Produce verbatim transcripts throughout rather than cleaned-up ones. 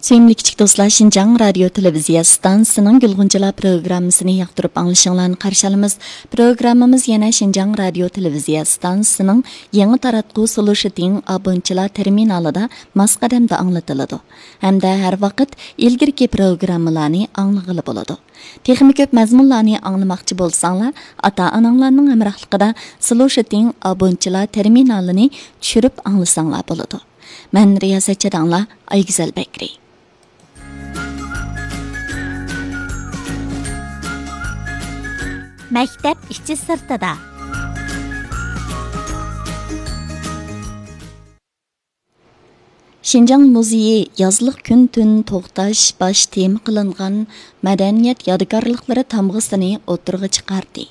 سۆيۈملۈك كىچىك دوستلار، شىنجاڭ رادىيو تېلېۋىزىيە ئىستانسىسىنىڭ گۈلغۇنچىلار پروگراممىسىنى ياقتۇرۇپ ئاڭلىشىڭلارنى قارشى ئالىمىز. پروگراممىمىز يەنە شىنجاڭ رادىيو تېلېۋىزىيە ئىستانسىسىنىڭ يېڭى تاراتقۇ سولۇشىتىڭ ئابونتچىلار تېرمىنالىدا ماس قەدەمدە ئاڭلىتىلىدۇ ھەمدە ھەر ۋاقىت ئىلگىرىكى پروگراممىلارنى ئاڭلىغىلى بولىدۇ. تېخىمۇ كۆپ مەزمۇنلارنى ئاڭلىماقچى بولساڭلار، ئاتا-ئاناڭلارنىڭ ھەمراھلىقىدا سولۇشىتىڭ ئابونتچىلار تېرمىنالىنى چۈشۈرۈپ ئاڭلىساڭلار بولىدۇ. مەن رىياسەتچى داڭلا ئايگۈزەل بەكرى. مەكتەپ ئىچى سىرتىدا. شىنجاڭ مۇزېيى يازلىق كۈن تۈن توختاش باش تېما قىلىنغان مەدەنىيەت يادىكارلىقلىرى تامغىسىنى ئوتتۇرىغا چىقاردى.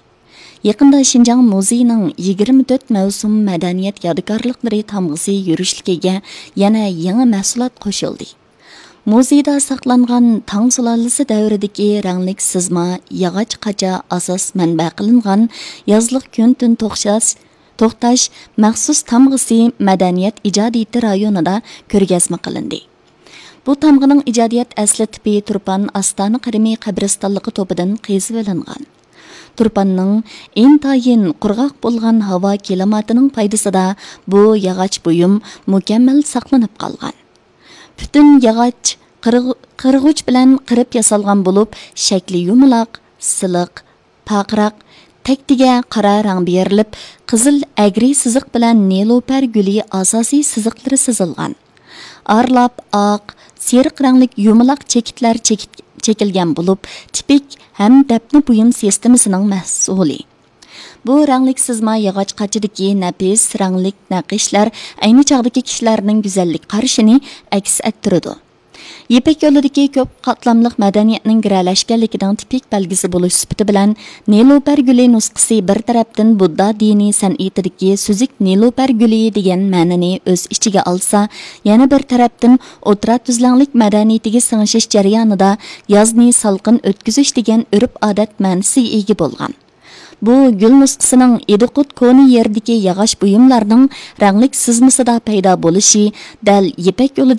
يېقىندا شىنجاڭ مۇزېيىنىڭ يىگىرمە تۆت مەۋسۇم مەدەنىيەت يادىكارلىقلىرى تامغىسى يۈرۈشلۈكىگە يەنە يېڭى مەھسۇلات قوشۇلدى. مۇزېيدا ساقلانغان تاڭ سۇلالىسى دەۋرىدىكى رەڭلىك سىزما ياغاچ قاچا ئاساس مەنبە قىلىنغان يازلىق كۈن تۈن توختاش، توختاش مەخسۇس تامغىسى مەدەنىيەت ئىجادىيىتى رايونىدا كۆرگەزمە قىلىندى. بۇ تامغىنىڭ ئىجادىيەت ئەسلى تىپى تۇرپان ئاستانە قىرىمى قەبرىستانلىقى توپىدىن قېزىۋېلىنغان. تۇرپاننىڭ ئىنتايىن قۇرغاق بولغان ھاۋا كىلىماتىنىڭ پايدىسىدا بۇ ياغاچ بۇيۇم مۇكەممەل ساقلىنىپ قالغان. پۈتۈن ياغاچ قىرغ-، قىرغۇچ بىلەن قىرىپ ياسالغان بولۇپ، شەكلى يۇمىلاق، سىلىق، پارقىراق، تەكتىگە قارا رەڭ بېرىلىپ، قىزىل ئەگرى سىزىق بىلەن نېلۇپەر گۈلى ئاساسىي سىزىقلىرى سىزىلغان. ئارىلاپ ئاق، سېرىق رەڭلىك يۇمىلاق چېكىتلەر چېكىت-، چېكىلگەن بولۇپ، تىپىك ھەم دەپنە بۇيۇم سىستېمىسىنىڭ مەھسۇلى. بۇ رەڭلىك سىزما ياغاچ قاچىدىكى نەپىس رەڭلىك نەقىشلەر ئەينى چاغدىكى كىشىلەرنىڭ گۈزەللىك قارىشىنى ئەكس ئەتتۈرىدۇ. يىپەك يولىدىكى كۆپ قاتلاملىق مەدەنىيەتنىڭ گىرەلەشكەنلىكىنىڭ تىپىك بەلگىسى بولۇش سۈپىتى بىلەن، نېلۇپەر گۈلى نۇسخىسى بىر تەرەپتىن بۇددا دىنىي سەنئىتىدىكى سۈزۈك نېلۇپەر گۈلى دېگەن مەنىنى ئۆز ئىچىگە ئالسا، يەنە بىر تەرەپتىن ئوتتۇرا تۈزلەڭلىك مەدەنىيىتىگە سىڭىشىش جەريانىدا يازنى سالقىن ئۆتكۈزۈش دېگەن ئۆرپ-ئادەت مەنىسىگە ئىگە بولغان. بۇ گۈل نۇسخىسىنىڭ ئىدىقۇت كونا يېرىدىكى ياغاچ بۇيۇملارنىڭ رەڭلىك سىزمىسىدا پەيدا بولۇشى دەل يىپەك يولىدىكى